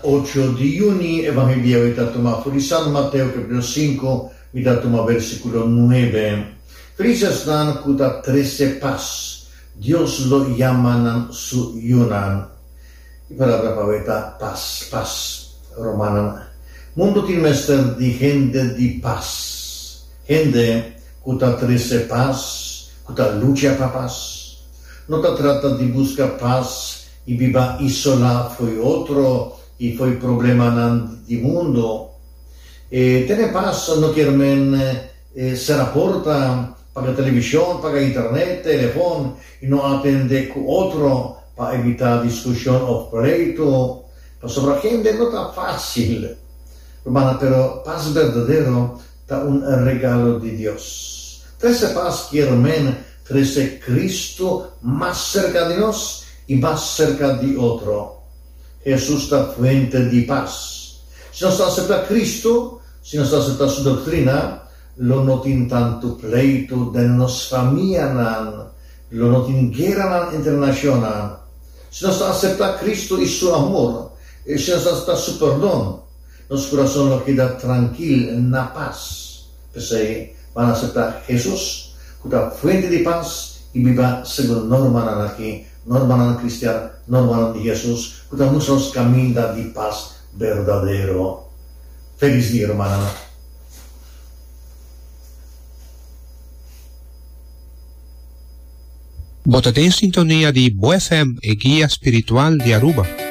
Ocho di yüni, Evangelio e ta tuma for di San Mateo capítulo sinku, mi ta tuma versículo nuebe. Felis esnan ku ta trese pas, Dios lo yama nan su yunan. E palabra pa awe ta pas, pas. Romanan, Mundu tin mester di hende di pas, hende ku ta trese pas, ku ta lucha pa pas. No ta trata di buska pas i biba isolá fo'i otro i fo'i problemanan di mundu. E tene pas no kier men sera porta, paga televishon, paga internet, telefon i no atendé ku otro pa evitá diskushon òf pleitu, pasobra hende no ta fásil. Rumannan, pero pas berdadero ta un regalo di Dios. Trese pas kier men Trese Cristo mas serka di nos i mas serka di otro. Hesus ta fuente di pas. Si nos ta aseptá Cristo, si nos ta aseptá Su doktrina, lo no tin tantu pleitu den nos famianan, lo no tin gueranan entre nashonnan. Si nos ta aseptá Cristo i Su amor, i si nos ta aseptá Su perdon, nos kurason lo keda trankil na pas. P'esei, ban aseptá Hesus, ku ta fuente di pas, i biba segun normanan aki, normanan kristian, normanan di Hesus, ku ta mustra nos kaminda di pas berdadero. Felis dia, rumannan! Bo ta den sintonia di Bo FM, e guia spiritual di Aruba.